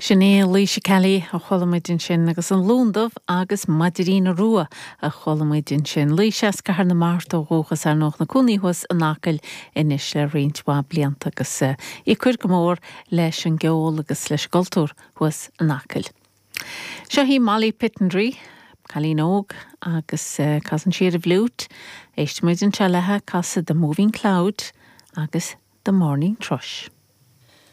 Sin í Laoise Kelly a chuala muid ansin agus an Lún Dubh agus Maidiríona Rua a chuala muid ansin. Laoise as Cathair na Mart ó dhúchas ar ndóigh, ina cónaí thuas in Acaill anois le roinnt mhaith blianta agus í ag cur go mór leis an gceol agus leis an gcultúr thuas in Acaill. Seo í Molly Pittendrigh, cailín óg agus casann sí ar an bhfliúit. Éistfidh muid anseo léi ag casadh The Moving Cloud agus The Morning Thrush.